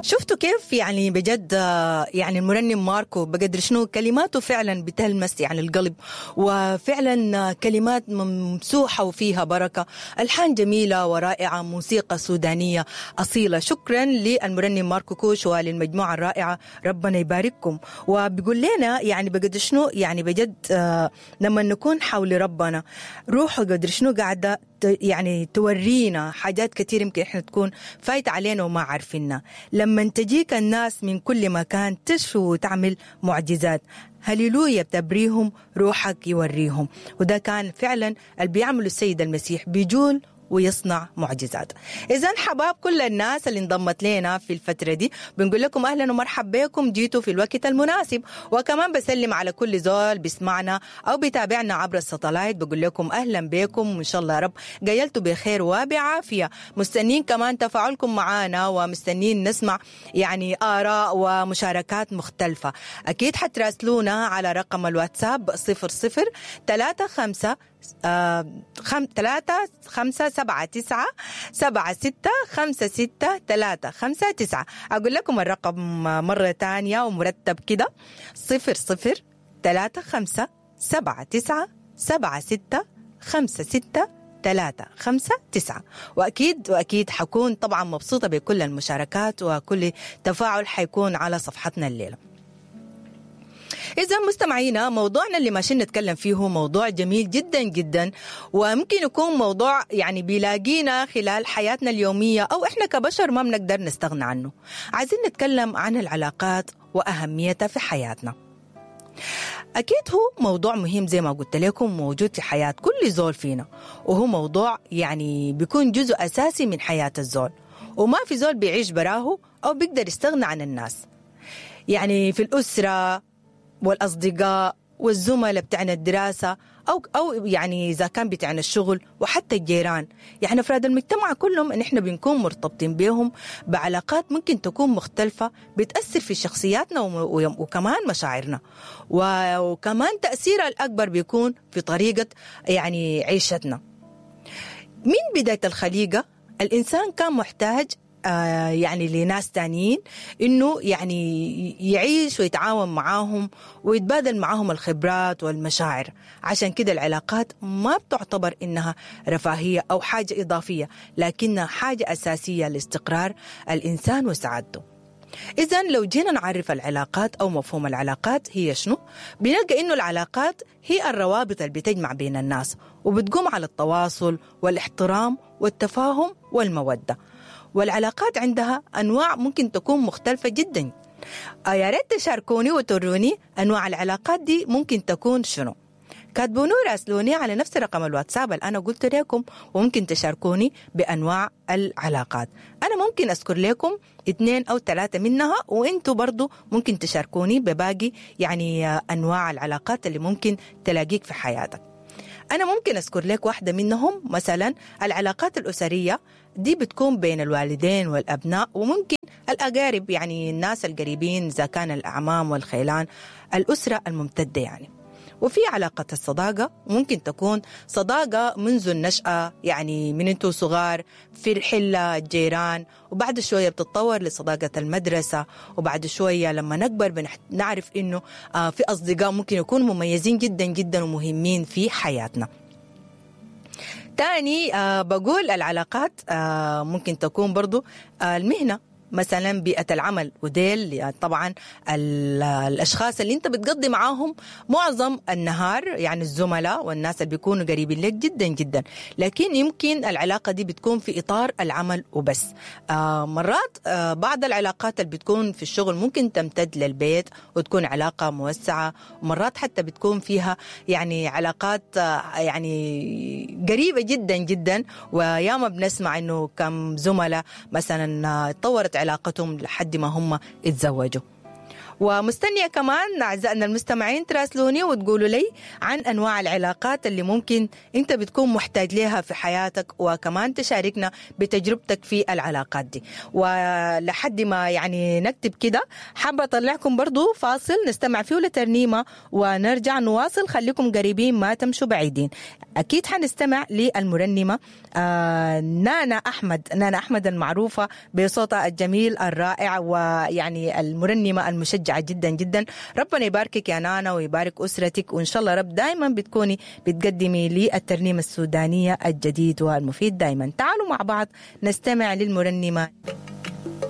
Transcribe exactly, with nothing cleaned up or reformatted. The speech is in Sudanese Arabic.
شفتوا كيف يعني بجد يعني المرنم ماركو بقدر شنو كلماته فعلا بتلمس يعني القلب، وفعلا كلمات ممسوحة وفيها بركة، ألحان جميلة ورائعة، موسيقى سودانية أصيلة. شكرا للمرنم ماركو كوش وللمجموعة الرائعة، ربنا يبارككم. وبيقول لنا يعني بقدر شنو يعني بجد لما نكون حول ربنا روحه قدر شنو قاعدة يعني تورينا حاجات كتير يمكن احنا تكون فايت علينا وما عارفينها. لما تجيك الناس من كل مكان تشفي وتعمل معجزات، هللويا بتبريهم روحك يوريهم. وده كان فعلا اللي بيعمله السيد المسيح، بيجول ويصنع معجزات. إذن حباب كل الناس اللي انضمت لنا في الفترة دي بنقول لكم أهلا ومرحبا بكم، جيتوا في الوقت المناسب. وكمان بسلم على كل زول بيسمعنا أو بيتابعنا عبر الساتلايت، بقول لكم أهلا بكم وإن شاء الله يا رب قيلتوا بخير وبعافية. مستنين كمان تفاعلكم معنا ومستنين نسمع يعني آراء ومشاركات مختلفة. أكيد حتراسلونا على رقم الواتساب صفر صفر ثلاثة خمسة ثلاثة خمسة سبعة تسعة سبعة ستة خمسة ستة ثلاثة خمسة تسعة. أقول لكم الرقم مرة تانية ومرتب كده: صفر صفر ثلاثة خمسة سبعة تسعة سبعة ستة خمسة ستة ثلاثة خمسة تسعة. وأكيد وأكيد حكون طبعا مبسوطة بكل المشاركات وكل تفاعل حيكون على صفحتنا الليلة. إذا مستمعينا، موضوعنا اللي ماشيين نتكلم فيه موضوع جميل جدا جدا، وممكن يكون موضوع يعني بيلاقينا خلال حياتنا اليومية أو إحنا كبشر ما بنقدر نستغنى عنه. عايزين نتكلم عن العلاقات وأهميتها في حياتنا. أكيد هو موضوع مهم زي ما قلت لكم، موجود في حياة كل زول فينا، وهو موضوع يعني بيكون جزء أساسي من حياة الزول، وما في زول بيعيش براه أو بيقدر يستغنى عن الناس. يعني في الأسرة والأصدقاء والزملاء بتاعنا الدراسة أو أو يعني إذا كان بتاعنا الشغل، وحتى الجيران، يعني أفراد المجتمع كلهم إن إحنا بنكون مرتبطين بهم بعلاقات ممكن تكون مختلفة، بتأثر في شخصياتنا وكمان مشاعرنا، وكمان تأثيرها الأكبر بيكون في طريقة يعني عيشتنا. من بداية الخليقة الإنسان كان محتاج يعني لناس تانيين إنه يعني يعيش ويتعاون معاهم ويتبادل معاهم الخبرات والمشاعر. عشان كده العلاقات ما بتعتبر إنها رفاهية أو حاجة إضافية، لكنها حاجة أساسية لاستقرار الإنسان وسعادته. إذن لو جينا نعرف العلاقات أو مفهوم العلاقات هي شنو، بنلقى إنه العلاقات هي الروابط اللي بتجمع بين الناس وبتقوم على التواصل والاحترام والتفاهم والمودة. والعلاقات عندها أنواع ممكن تكون مختلفة جدا. يا ريت تشاركوني وتوروني أنواع العلاقات دي ممكن تكون شنو. كاتبوني وراسلوني على نفس رقم الواتساب اللي أنا قلت لكم، وممكن تشاركوني بأنواع العلاقات. أنا ممكن أذكر لكم اثنين أو ثلاثة منها، وإنتوا برضو ممكن تشاركوني بباقي يعني أنواع العلاقات اللي ممكن تلاقيك في حياتك. أنا ممكن أذكر لك واحدة منهم، مثلا العلاقات الأسرية دي بتكون بين الوالدين والأبناء، وممكن الأقارب يعني الناس القريبين إذا كان الأعمام والخيلان، الأسرة الممتدة يعني. وفي علاقة الصداقة، ممكن تكون صداقة منذ النشأة، يعني من انتو صغار في الحلة الجيران، وبعد شوية بتتطور لصداقة المدرسة، وبعد شوية لما نكبر بنعرف إنه في أصدقاء ممكن يكونوا مميزين جدا جدا ومهمين في حياتنا. تاني بقول العلاقات ممكن تكون برضو المهنة، مثلا بيئة العمل، وديل طبعا الأشخاص اللي انت بتقضي معاهم معظم النهار، يعني الزملاء والناس اللي بيكونوا قريبين لك جدا جدا، لكن يمكن العلاقة دي بتكون في إطار العمل وبس. مرات بعض العلاقات اللي بتكون في الشغل ممكن تمتد للبيت وتكون علاقة موسعة، ومرات حتى بتكون فيها يعني علاقات يعني قريبة جدا جدا، وياما بنسمع انه كم زملاء مثلا تطورت علاقتهم لحد ما هم اتزوجوا. ومستنية كمان أعزائنا المستمعين تراسلوني وتقولوا لي عن أنواع العلاقات اللي ممكن أنت بتكون محتاج لها في حياتك، وكمان تشاركنا بتجربتك في العلاقات دي. ولحد ما يعني نكتب كده حابة أطلعكم برضو فاصل نستمع فيه لترنيمة ونرجع نواصل. خليكم قريبين ما تمشوا بعيدين. أكيد حنستمع للمرنمة آه نانا أحمد، نانا أحمد المعروفة بصوتها الجميل الرائع، ويعني المرنمة المشجعة جدا جدا. ربنا يباركك يا نانا ويبارك أسرتك، وإن شاء الله رب دايما بتكوني بتقدمي لي الترنيمة السودانية الجديد والمفيد دايما. تعالوا مع بعض نستمع للمرنمة.